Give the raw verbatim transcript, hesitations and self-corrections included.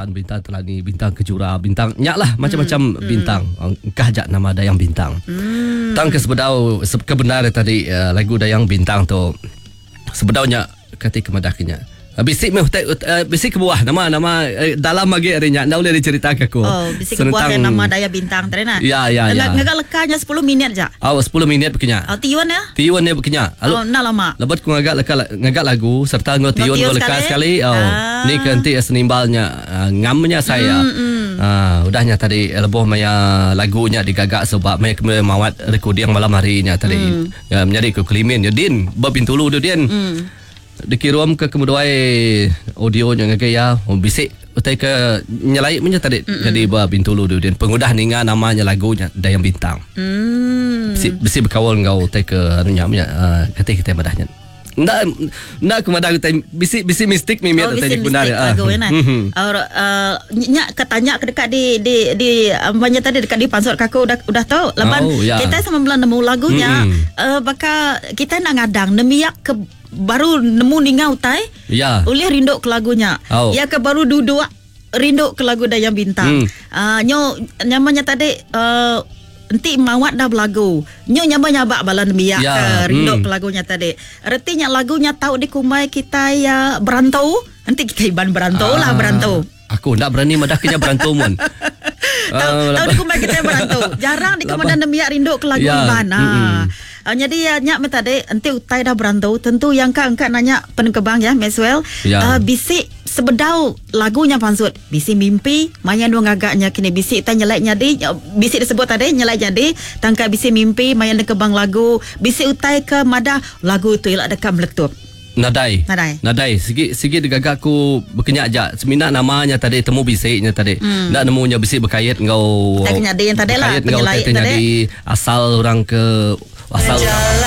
Bulan, Bintang Telani, Bintang Kejura, Bintang nya lah macam-macam mm. bintang. Engkah jak nama Dayang Bintang. Mm. Tang ke sebedau ke benar tadi uh, lagu Dayang Bintang tu sebedaunya kati kemadahnya. Bisi meh uh, bisi kebuah nama nama uh, dalam lagi hari nya ndak boleh diceritakan aku. Oh, bisi kebuah yang nama Daya Bintang tadi nah. Ya ya ya. Ngagak lekanya sepuluh minit je. Oh, sepuluh minit bekenya. Oh, tiun ya. Tiun ya bekenya. Oh, nak lama. Lebat ku ngagak leka ngagak lagu serta ngau tiun ngau leka sekali. Oh, ah. Ni ke nanti senimbalnya uh, ngamnya saya. Mm, mm. Ah, udahnya tadi lebuh maya lagunya digagak sebab maya kena mawat recording malam harinya tadi. Mm. Ya, menjadi ke kelimin ya din berpintulu tu din. Mm. Dikirim ke kemuduai audio nya ngagai ya oh, bisik utai ke nyelai punya tadi mm-hmm. Jadi ba Bintulu tu din pengudah ninga namanya lagunya Dayang Bintang. Mm. Bisi bisi berkawal ngau utai ke anunya punya uh, kata kita madahnya. Ndak ndak aku madah utai bisi bisi mistik mimit oh, utai benar ya. Lagu ya nah. Uh, nya ketanya ke dekat di di di banyak tadi dekat di pansut kaku udah udah tahu laban oh, ya. Kita sama belan nemu lagunya mm-hmm. uh, baka kita nak ngadang nemiak ke baru nemu ninga utai ya. Ulih rindu ke lagunya. Oh. Ya ke baru duduk rindu ke lagu Dayang Bintang. Mm. Uh, nyo nyamanya tadi uh, enti mawat dah belagu. Nyo nyamba nyabak bala nemiak ya. ke rindu mm. ke lagunya tadi. Ertinya lagunya tahu dikumbai kita ya berantau. Enti kita iban berantau ah. lah berantau. Aku ndak berani madah kenya berantau mun. Tahu uh, tahu dikumbai kita berantau. Jarang dikemandan nemiak rindu ke lagu ya. iban. Ah. Uh, jadi ya nyak tadi enti utai dah berantau tentu yang ka engkak nanya penekebang ya Maxwell ya. Uh, bisik sebedau lagunya pansut bisi mimpi maya nu ngagaknya kini bisi tanya nyelai nyadi bisi disebut tadi nyelai jadi tangka bisi mimpi maya nekebang lagu bisi utai ke madah lagu tu ilak dekat meletup. Nadai. Nadai. Nadai. Sigi sigi digagak aku berkenyak jak. Semina namanya tadi temu bisiknya tadi. Hmm. Ndak nemunya bisik berkait ngau. Tak kenyadi yang tadi lah. Berkait ngau Penyelai tadi. Asal orang ke asal orang.